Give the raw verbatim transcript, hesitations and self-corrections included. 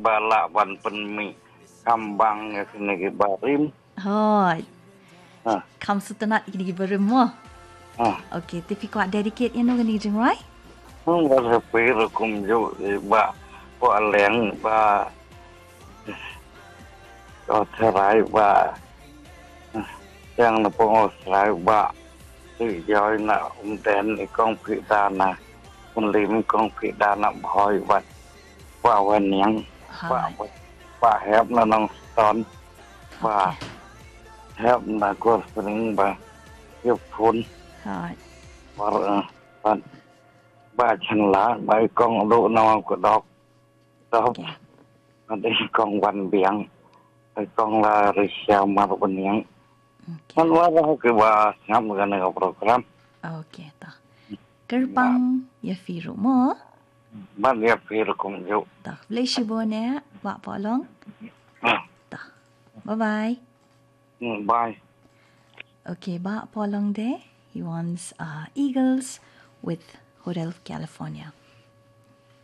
ba lah ban pynmih kham bang ïa kine ki barim. Hooid. Ha. Kham sngewtynnat ïa kine ki barim mo. Ha. Okay, te phi kwah dedicate ïa no kane ka jingrwai? Hmm, ba happy rukom ju ba ko aleng ba ko tharai ba yang na pong Australia ba ti joi na um den i kong phi da na un lim kong phi da na bhoi ba ba wan yang ba Hai. ba hep na nong ton ba Okay. hep na gor sering ba yep phun Hai. Ba, eh, ba, ba chan la ba i kong do na ko dok dok Okay. Ba i kong wan biang i kong la ri sia mar bniang Okay. Man wa ba ki ba sngap ga na program Okay, ta. Kyrpang ïa phi ruh mo. Ban ïa phi ruh kumjuh. Ta, khublei shibun eh, Bah Polong. Ah. Ta. Bye bye. Hmm, bye. Okay, Bah Polong de. He wants uh, Eagles with Hotel California.